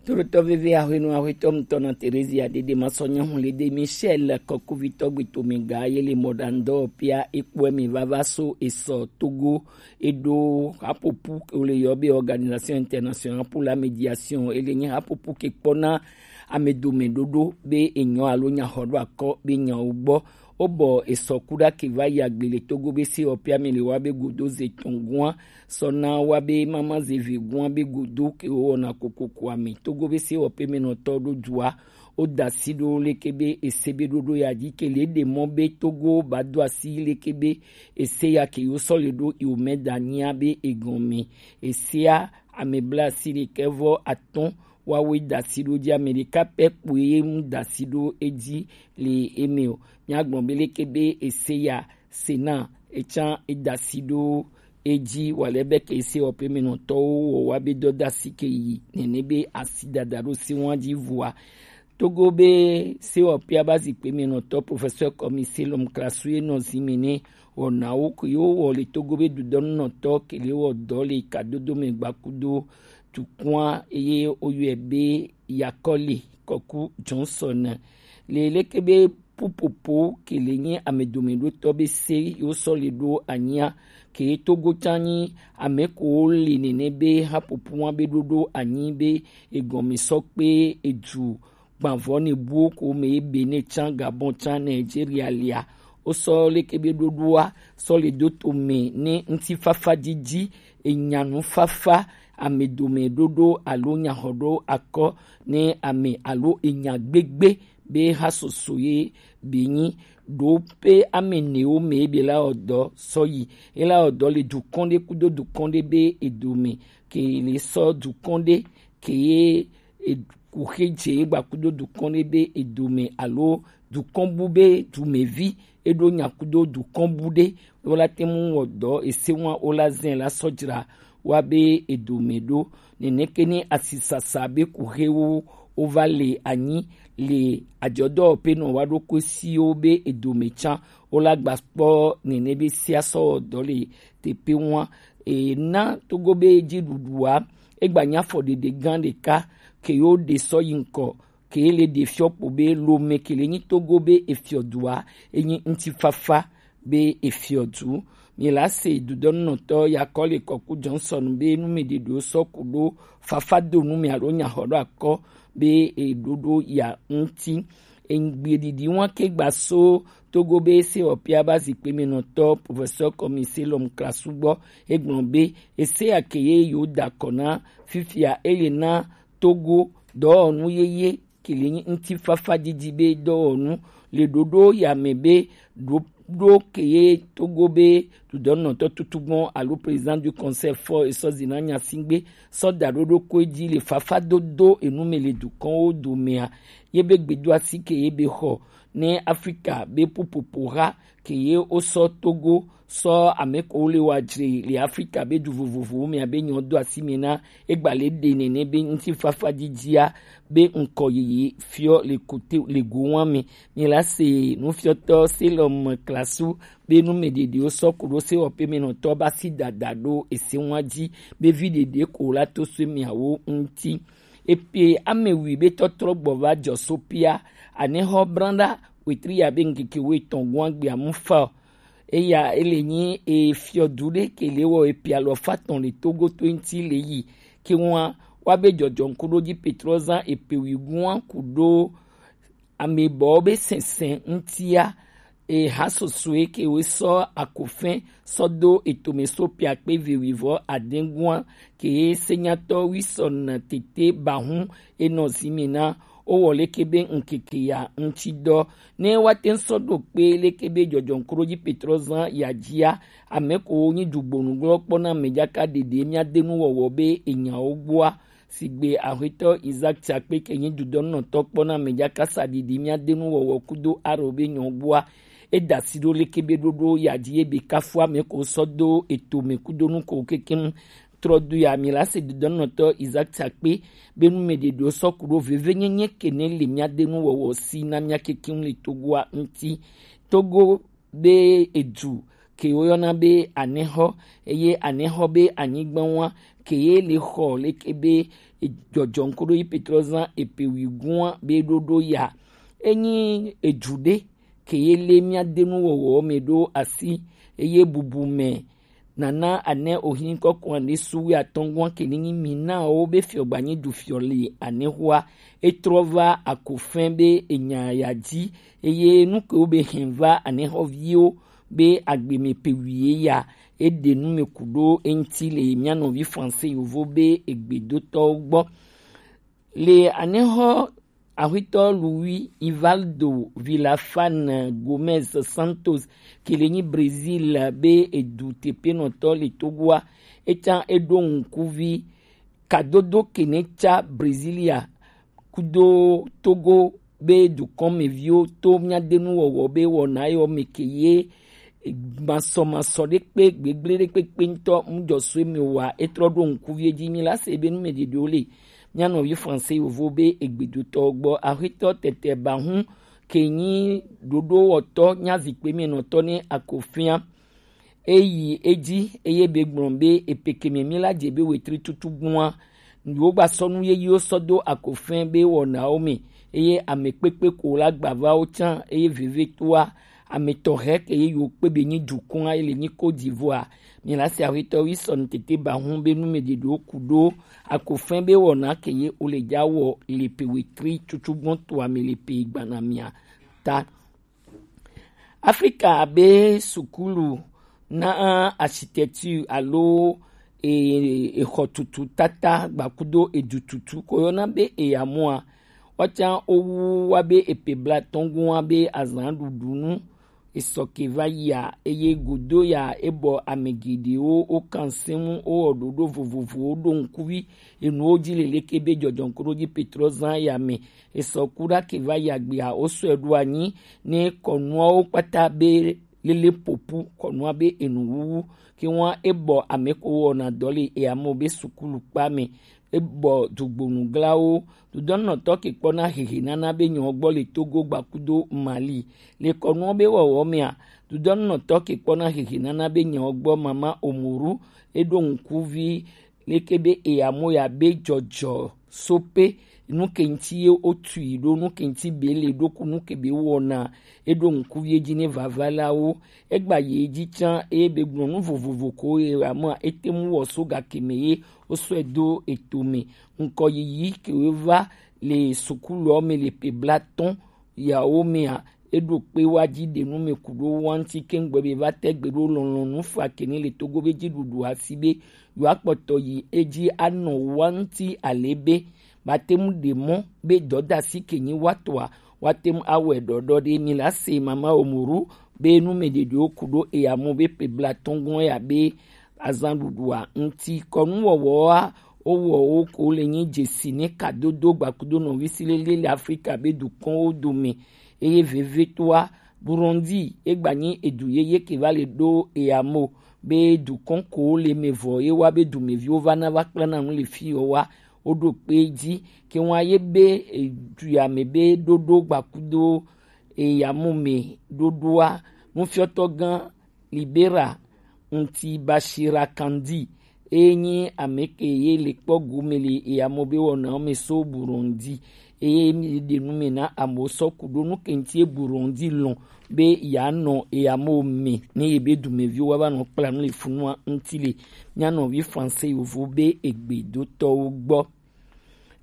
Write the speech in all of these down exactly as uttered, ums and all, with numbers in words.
Tolotɔ veve ahwenu ahwetɔ mutɔ na Terezia dede masɔ nyahun le de Michel kɔkuvitɔ gbetome ga ye le mɔdandɔ pia ekpɔe mi vava so esɔ Togo eɖo hapopu o le yɔ be Organisation Internationale pour la Médiation ele nye hapopu ke kpɔna amedome ɖoɖo be enyɔ alo nyaxɔɖo akɔ be nyawo gbɔ. Wobɔ esɔ kuɖa ke va yi agbe le Togo be se ɔpia mi le wa be godo ze tɔngua sɔna wa be mama ze vi gua be godo ke wowɔna kokoko ami Togo be se ɔpe mi nɔtɔ ɖo dua. Woda asi ɖo leke be ese be ɖoɖo ya dzi ke le ɖe mɔ be Togo ba do asi leke be ese ya ke yo sɔ le ɖo yo mɛ da nyia be egɔme. Esea ame bla asi ɖekɛ vɔ atɔ̃ wawoe da asi ɖo dzi, ame ɖeka pɛ kpoe ye ŋu da asi ɖo edzi le eme o. Míagblɔ be leke be ese ya sena etsã eda asi ɖo edzi wale be ke ese ɔpe me nɔtɔwo wɔ wa be dɔda asi ke yi nene be asi dada ɖo se wa dzi vua. Togo be se ɔpia ba zikpe me nɔtɔ professeur commissaire lɔm klasu ye nɔ zi me ne wɔnawo ke yo wɔ le Togo be dudɔnunɔtɔ ke le wɔ dɔ le kadodo me gbakudo tukua eye woyɔe be Yakɔli Kɔku Johnson. Le leke be pupopo ke le nyi amedomeɖotɔ be se yo sɔ le ɖo anyia ke Togo tsa nyi ame ko le nene be hapopo wa be ɖoɖo anyi be egɔme sɔ kpe edu gbanvɔ ne buwo ko me Benin tsa Gabon tsa Nigeria lia. Wo sɔ leke be ɖoɖoa sɔ le do to me ne ŋutifafa didi enyanu fafa ame dome ɖoɖo alo nyaxɔɖo akɔ ne ame alo enya gbegbe be ha soso ye be nyi ɖo pe ame newo me be la ɔdɔ sɔ yi e la ɔdɔ le dukɔn ɖe kudo dukɔn ɖe be edome ke le sɔ dukɔn ɖe ke ye e- kuxe dze gbakudo dukɔn ɖe be edome alo dukɔn bu be dumevi eɖo nyakudo dukɔn bu ɖe wola te mu wɔ dɔ ese wa wola zɛn la sɔdzra wa be edome ɖo. Neneke ne asisasa be kuxewo wova le anyi le adzɔdɔwɔƒe nɔ wa ɖo kosiwo be edome tsa wola gba kpɔ nene be sia sɔ wɔ dɔ le teƒe wa. Ena Togo be dziɖuɖua egba nya afɔɖeɖe gã ɖeka ke yo ɖe sɔ yi ŋkɔ ke le ɖe fiɔ kpo be Lome ke le nyi Togo be efiɔdua enyi ŋutifafa be efiɔdu. Mi la se dudɔnunɔtɔ ya kɔ le Kɔku Johnson be nu mi ɖeɖewo sɔ ku ɖo fafa do nu mi alo nyaxɔɖo akɔ be eɖoɖo ya ŋuti. Egbeɖiɖi wa ke gba so Togo be se ɔpia ba zikpe me nɔtɔ professeur commissaire lɔm klasu gbɔ egblɔ be ese ya ke ye yo da kɔ na fifia ele na Togo dɔwɔnu yeye ke le nyi ŋutifafa didi be dɔwɔnu le ɖoɖo ya me be ɖoɖo ke ye Togo be dudɔnɔtɔ tutugbɔn alo président du conseil fɔ esɔ zina nyasingbe sɔ da ɖoɖo ko dzi le fafa dodo enu me le dukɔnwo domea ye be gbedo asi ke ye be xɔ ne Afrika be pupopo ha ke ye wo sɔ Togo sɔ ame ko le wa dzre le Afrika be du vovovowo me abe nyɔ do asi me na egba le ɖe nene be ŋutifafa didia be ŋkɔ yiyi fiɔ le kote le go wa me. Mi la se nufiɔtɔ se lɔ me klasu be nu me ɖeɖewo sɔ ku ɖo se wɔƒe me nɔtɔ ba si dada ɖo ese wa dzi be vi ɖeɖe ko la to so miawo ŋuti. Epe ame wui be tɔtrɔ gbɔ va dzɔ so pia anexɔ branda wetri ya be ŋkeke wo etɔn gua gbea mu fa o. Eya ele nyi efiɔdu ɖe ke le wɔ epe alɔfa tɔn le Togo to ŋuti le yi ke wa wa be dzɔdzɔ ŋkuɖodzi Petrɔ zan epe wui gua ku ɖo ame bɔ be sɛnsɛn ŋutia eha sosoe ke wo sɔ akofɛn sɔ do etome so pia kpe ve wivɔ adengua ke senyatɔ wisɔn tete bahun enɔ zimi na wowɔ leke be ŋkeke ya ŋuti dɔ ne woate ŋu sɔ ɖo kpe leke be dzɔdzɔ ŋkuɖodzi Petrɔ zan ya dzia ame ko wo nyi dugbonu glɔ kpɔ na ame dzaka ɖeɖe mía de nu wɔwɔ be enyawo gbɔa. Sigbe Aƒetɔ Isaac Tsakpe ke nyi dudɔnɔtɔ kpɔ na ame dzaka sa ɖiɖi mía de nu wɔwɔ kudo aro be nyɔ gbɔa. Eda si ɖo leke be ɖoɖo ya dzi ye be kafu ame ko sɔ do eto me kudo nu ko kekem trɔ do ya mi la se dudɔnɔtɔ Isaac Tsakpe be nu me ɖeɖewo sɔ ku ɖo veve nyenye ke ne le mía de nu wɔwɔ si na mía kekem le Togoa ŋuti. Togo be edu ke woyɔna be Anexɔ, eye Anexɔ be anyigba wa ke ye le xɔ leke be jɔjɔŋ koɖo yi Petrɔ zan epe wi gua be ɖoɖo ya. Enyi eju ɖe ke ye le mía de nu wɔwɔ me ɖo asi, eye bubu me nana ane ohin kɔkɔa ɖe su wi atɔngua ke ni nyi mi na wo be fiɔ gba nyi du fiɔ le Anexɔa. Etrɔ va Akofɛn be enya ya dzi, eye nu ke wo be hɛn va Anexɔviwo be agbe me pe wi ye ya, eɖe nu me ku ɖo eŋti le mía nɔvi Français yovo be egbedotɔwo gbɔ. Le Anexɔ, Axwetɔ Luis Ivaldo Villafana Gomez Santos ke le nyi Brésil be edu tepenɔtɔ le Togoa, etsa eɖo ŋkuvi kadodo ke ne tsa Brésilia kudo Togo be dukɔnmeviwo to mía de nu wɔwɔ be wɔna yɔ me ke ye masɔmasɔ ɖe kpe gbegble ɖe kpekpe ŋutɔ ŋdzɔsue me wa etrɔ ɖo ŋkuvi dzi. Mi la se be nu me ɖeɖewo le mía nɔvi Français yovo be egbedotɔ gbɔ. Axwetɔ tete ba hu ke nyi ɖoɖowɔtɔ nya zikpe me nɔtɔ ne Akofɛn. Eyi edzi eye be gblɔ be epeke me mi la dze be wetri tutu gbɔa, wo gba sɔ nu yeyiwo sɔ do Akofɛn be wɔnawo me, eye ame kpekpe ko la gba va wo tsã, eye vevetoa ame tɔxɛ ke ye yewo kpe be nyi dukɔa ye le nyi Côte d'Ivoire. Mi la se Axwetɔ Wilson tete ba hu be nu me ɖeɖewo ku ɖo Akofɛn be wɔna ke ye wo le dza wɔ le pe wetri tutu gbɔn toa me le pe gbana mia ta. Afrika be sukulu na architecture alo e, exɔ tutu tata gbakudo edu tutu ko yɔna be eyamoa, wɔtsa owu wa be epe bla tɔngun wa be azan ɖuɖu nu esɔ ke va yia, eye godo ya ebɔ ame geɖewo wo kan sɛmu wo wɔ ɖoɖo vovovowo ɖo ŋkuvi enuwo dzi leleke be jɔjɔŋkoɖodji Petrɔ zan ya me. Esɔ ku ɖa ke va yi agbea, wosɔe ɖo anyi ne kɔnuawo kpata be lele popu, kɔnua be enu wuwu. Ke ŋua ebɔ ame ko wɔna dɔ le eyamewo be sukulu kpa me. Ebɔ dzogbonu glawo. Dudɔnɔtɔ ke kpɔna hehe nana be nyɔ gbɔ le Togo gbakudo Mali. Le kɔnuɔ be wɔwɔ mea, dudɔnɔtɔ ke kpɔna hehe nana be nyɔ gbɔ mama Omoru eɖo ŋkuvi leke be eyamo ya be jɔjɔ sope, nu ke ŋuti ye wotui ɖo, nu ke ŋuti be le ɖo ku nu ke be wɔna, eɖo ŋku ye dzi ne vava la wo. Egba ye dzi tsã eye be gblɔ nu vovovo ko ye amea ete ŋu wɔ so gake me ye wosɔe do eto me. Ŋkɔ yiyi ke wo va le sukuluɔ me le pe blatɔn yawo mea, eɖo kpe wa dzi ɖe nu me ku ɖo wa ŋuti keŋ gbɔ be va te gbe ɖo lɔlɔ̃nu fa ke ne le Togo be dziɖuɖu asi be yewoakpɔtɔ yi edzi anɔ wa ŋuti ale be mate ŋu ɖe mɔ be dɔdasi ke nyi wa tɔa, woate ŋu awɔe ɖɔɖɔ ɖe. Mi la se mama Omoru be nu me ɖeɖewo ku ɖo eya mɔ be pe blatɔn gɔn ya be azan ɖuɖua ŋuti kɔnu wɔwɔa wowɔ wo ko le nyi dzesi ne kadodo gbakudo nɔvi si lele le Afrika be dukɔnwo dome. Eye vevetoa Burundi egba nyi edu yeye ke va le ɖo eyamo be dukɔn ko le me vɔ ye wa be dumeviwo va na va kpla na nu le fi yɔ wa woɖo kpe dzi ke wa ye be edu ya me be ɖoɖo gbakudo eyamo me ɖoɖoa nufiɔtɔ gã Libera ŋuti Bashira Kandi eye nyi ame ke ye le kpɔ gome le eyamo be wɔnawo me so Burundi eye mi ɖe nu me na amewo sɔ ku ɖo nu ke ŋuti ye Burundi lɔn be yeanɔ eyamo me ne ye be dumeviwo wa va nɔ kpla nu le funua ŋuti le mía nɔvi Français yovo be egbedotɔwo gbɔ.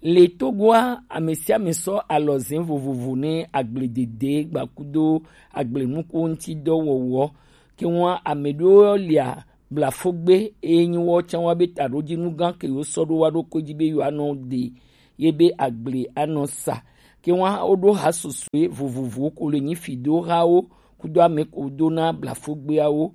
Le Togoa, ame sia ame sɔ alɔzɛn vovovo ne agbledede gbakudo agblenukuwo ŋuti dɔ wɔwɔ. Ke ŋua ame ɖewo lia blafogbe eye nyi wɔ tsã wa be taɖodzinu gã ke yewo sɔ ɖo wa ɖokui dzi be yewoanɔ ɖe ye be agble anɔ sa. Ke ŋua woɖo ha susue vovovowo ko le nyi fidohawo kudo ame ko dona blafogbeawo.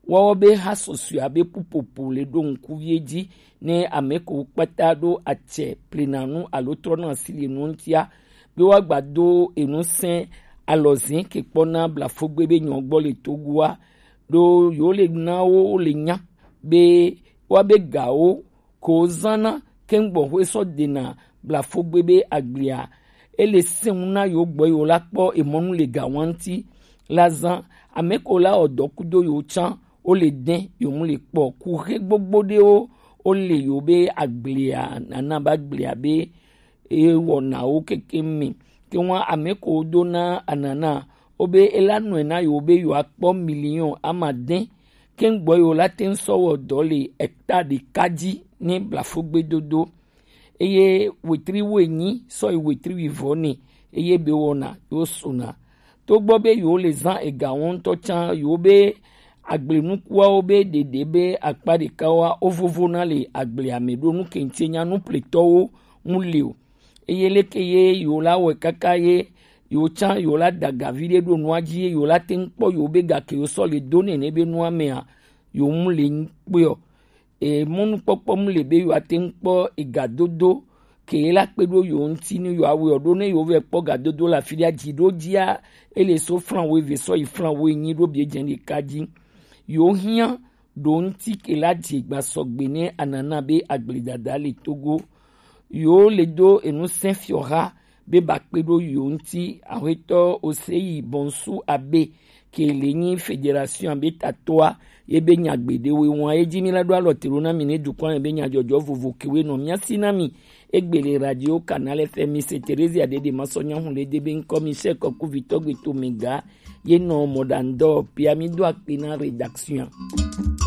Woawo be ha susue abe ƒuƒoƒo le ɖo ŋkuvie dzi ne ame ko kpata ɖo atsɛ plenanu alo trɔna asi le nuwo ŋutia, be woagba do enusẽ alɔzẽ ke kpɔna blafogbe be nyɔ gbɔ le Togoa, ɖo yewo le na wo le nya be woabe gawo ko zãna keŋgbɔxwe sɔ dena blafogbe be agblea. Ele sẽŋu na yewo gbɔ yewo la kpɔ emɔnu le gawa ŋuti la zã. Ame ko la wɔ dɔ kudo yewo tsã Wo le dɛn yo mu le kpɔ kuxe gbogbo ɖewo, wo le yo be agblea nana ba agblea be e wɔnawo keke mi. Ke ŋua ame ko do na anana wo be e la nɔe na yo be yo akpɔ miliɔn ama dɛn. Ke ŋgbɔ yo la te ŋ sɔ wɔ dɔ le hectare ɖeka dzi ne blafo gbedodo. Eye wetri wo enyi sɔ yi wetri wi vɔ ne, eye be wɔna yo sona. Togbɔ be yo le zan ega wɔn tɔ can yo be agblenukuawo be ɖeɖe be akpa ɖeka wa wo vovo na le agblea me ɖo nu kente nya nu pletɔwo ŋu le o. Eye leke ye yo la wɔ kaka ye yo can yo la da gavi ɖe ɖo nua dzi ye yo la te ŋ kpɔ yo be gake yo sɔ le do nene be nua mea yo mu le ŋ kpɔ. E mɔnukpɔkpɔ mu le be yo ate ŋ kpɔ ega dodo ke la kpe ɖo yo ŋuti ne yo awɔ ɖo ne yo vɛ kpɔ ga dodo le afi ɖe dzi ɖo dzia ele so flan wo eve sɔ yi flan wo enyi ɖo bie dze ɖeka dzi. Yo hiã ɖo ŋuti ke la dze gba sɔgbe ne anana be agbledada le Togo. Yo le do enu sɛn fiɔha be ba kpe ɖo yo ŋuti. Ahwetɔ Oseyi Bonsu Abe ke le nyi fédération be tatɔa ye be nyagbe ɖewo wɔn ye dzi mi la ɖo alɔ te ɖo na mi ne dukɔa me be nyadzɔdzɔ vovo kewe nɔ mia si na mi. Egbe le radio Canal F M, c'est Theresia Dede Masɔnya Hunlede be ŋkɔ mi se kɔku vitɔ gbe to mi ga ye nɔ mɔɖaŋdɔ pia mi do akpe na rédaction.